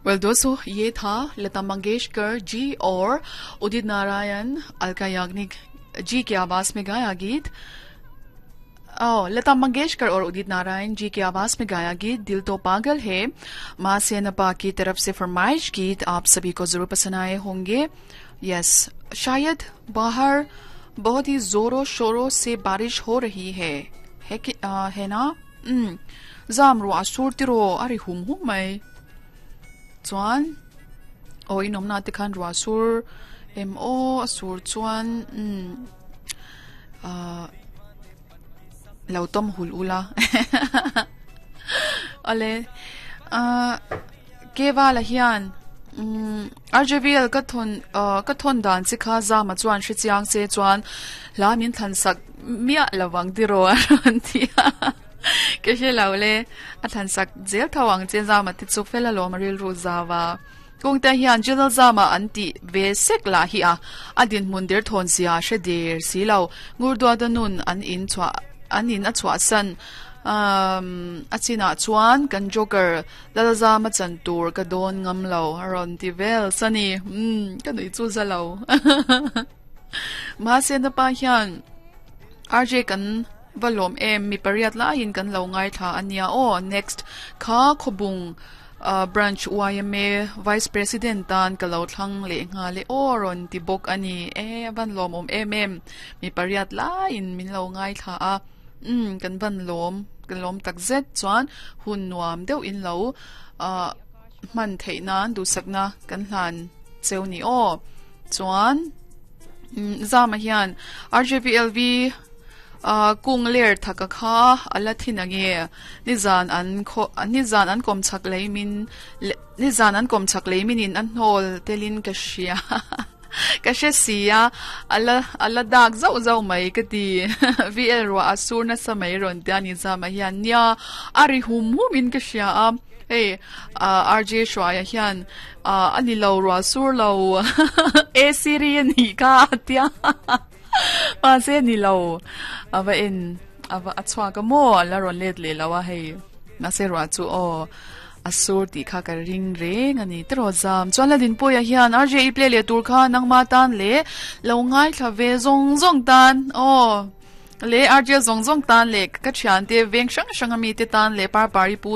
Well दोस्तों ये था लता मंगेशकर जी और उदित नारायण अलका याग्निक जी की आवाज में गाया गीत ओ, लता मंगेशकर और उदित नारायण जी की आवाज में गाया गीत दिल तो पागल है माँ सेनपा की तरफ से फरमाइश गीत आप सभी को जरूर पसंद आए होंगे। यस, शायद बाहर बहुत ही जोरों शोरों से बारिश हो रही है है कि आ, है ना? Zam ru a sur tiro a ri hum hum mai chuan aw in awmna te khan ruah sur em aw a sur chuan umm ahh lo tawm hul ula awle ahh kevala hian umm RJVL ka thawn ahh ka thawn dan che kha zama chuan hre chiang che chuan hla min thlan sak miah lovang tiraw a rawn ti a. Ka hre lo le, a thlan sak zel tho ang che Zama te chu fel alawm a rilru zau a. Kawngte hian General Zama an tih ve sek lah hi a, a dinhmun der thawn zia a hre der si lo. Ngurduata nun an in chhuah an in a chhuahsan a chinah chuan kan Joker Lalzama chan tur ka dawn ngam lo a rawn ti vel sani. Umm ka nuih chu za lo. Mahse napa hian RJ kan va lawm em mi pariat laiin kan lo ngaithla a nia aw next kha khawbung branch yma vice president tan ka lo thlang leh nghal e aw rawn ti bawk a ni e a van lawmawm em em mi pariat laiin min lo ngaithla a umm kan van lawm kan lawm tak zet chuan hun nuam deuh in lo ah hman theih nan duhsakna kan hlan cheu ni aw chuan Zama hian RJVLV kung ler thaka kha a la thin ange nizan an khaw nizan an kawm chak lei min nizan an kawm chak lei min in a hnawl telin ka hria ka hre si a a la a la dak zauh zauh mai ka ti VL ruah a sur nasa mai rawn tia ni Zama hian nia a ri hum hum in ka hria a. Hei RJ Hruaia hian a ni lo ruah sur lo AC ri a nih kha a tia mahse ni lo a va en a va a chhuak a maw a la rawn let leh lo a hei mahse ruah chu aw a sur tih kha ka ring reng a ni tiraw zam chuan la Dinpuia hian RJ i play leh tur kha nangma tan leh lo ngaithla ve zawng zawng tan aw. Leh RJ zawng zawng tan leh ka thiante veng hrang hrang ami te tan leh Parpari pu.